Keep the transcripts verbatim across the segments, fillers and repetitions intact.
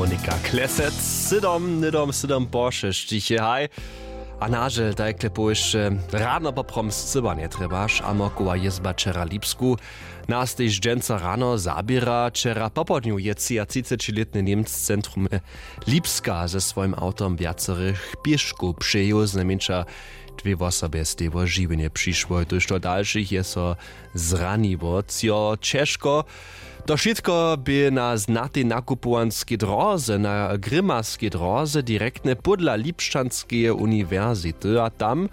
Monika Klesec, sydom hnydom sydom po šesćich je haj. A nažel tajkle powěsće, radno poprom scyba njetrjebaš a mokowa jězba wčera lipsku. Nas tež dźensa rano zaběra. Wčera popołdnju je třiatřicećilětny němc z centrumy lipska ze swojim awtom wjacerych pěškow přejěł. Znajmjeńša dwě wosobje steje wo žiwjenje přišłoj, tójšto dalšich je so zraniło třo ćežko. To wšitko bě na znatej nakupowanskej dróze na grimaskej dróze direktnje pódla lipšćanskeje uniwersity a tam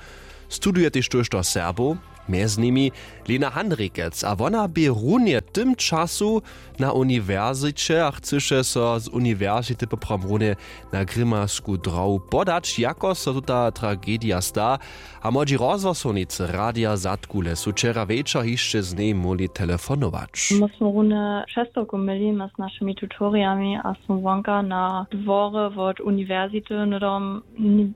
studuje tež tójšto serbow, mjez nimi Lena Handrikec a wona bě runje w tym času na uniwersiće a chcyše so z uniwersity poprawom runje na grimasku dróhu podać jako so tuta tragedija sta. A młodźi rozhłosownjej radija zadkule su wčera wječor hišće z njej móhli telefonować. My smy runje přestawku měli my z našimi tutorijami a smy wonka na dworje wot uniwersity hnydom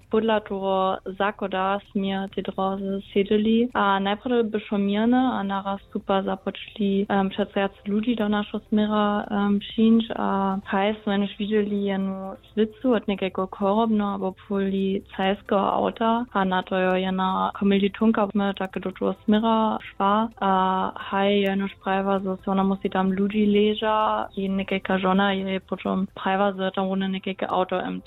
pódla toho zachoda smy te drózy sědźeli a najprjedy by šło měrne a naraz su pak započli přez wjac ludźi do našeho směra přińć a haj smy jenož widźeli jenu swěcu wot někajkeho chorobneho abo policajskeho awta a na to jo jena kommilitonka my tak do toho směra šła a haj jenož prajiła zo so wona musi tam ludźi leža i někajka žona je potom prajiła zo je tam runje někajke awto emt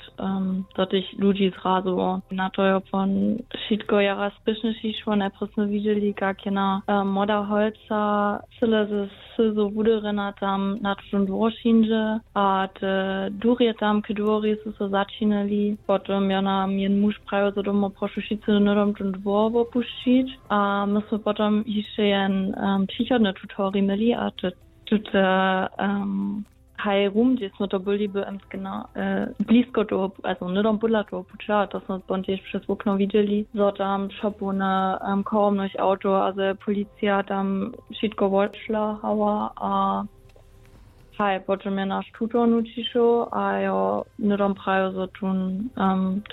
do tych ludźi zrazu na to jo pon wšitko jara spěšniši šło najprjedy smy widźeli kak jena młoda holca cyle ze syzo wuderjena tam na tutón dwór přińdźe a te durje tam k dwori su so začinili potom jo nam jen muž prajił zo domo prošu wšitcy hnydom tón dwór wopušćić a my smy potom hišće jen přichodny tutori měli a te tute haj rum hdźež smy to byli by blisko toho hnydom pódla toho puća a to smy pon tež přez wokno widźeli zo tam šopowne chorobnych awtow a zo je policija tam wšitko wotšlahała a haj potom je naš tutor nućišoł a jo hnydom prajił zo tón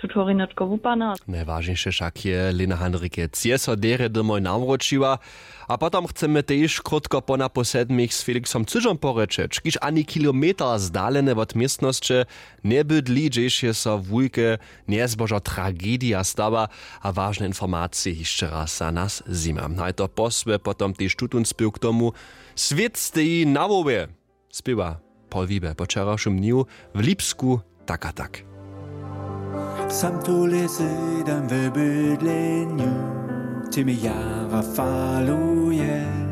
tutori nětko wupadny. Najwažniše wšak je Lena Handrikec je so derje domoj nawróćiła. A potom chcemy tež krótko po napoł sedmich z Felixom Cyžom porěčeć, kiž ani kilometer zdalene wot městnosće njebydli, hdźež je so wulke njezbožo tragedija stała. A wažne informacije hišće raz za nas zjima. Haj to posły potom tež tutón spěw k tomu: Swět steji na hłowje. Spěwa Paul Wiebe po wčerawšym dnju w Lipsku tak a tak. Sam tu lěsy dam w bydlenju, ty mi jara faluje.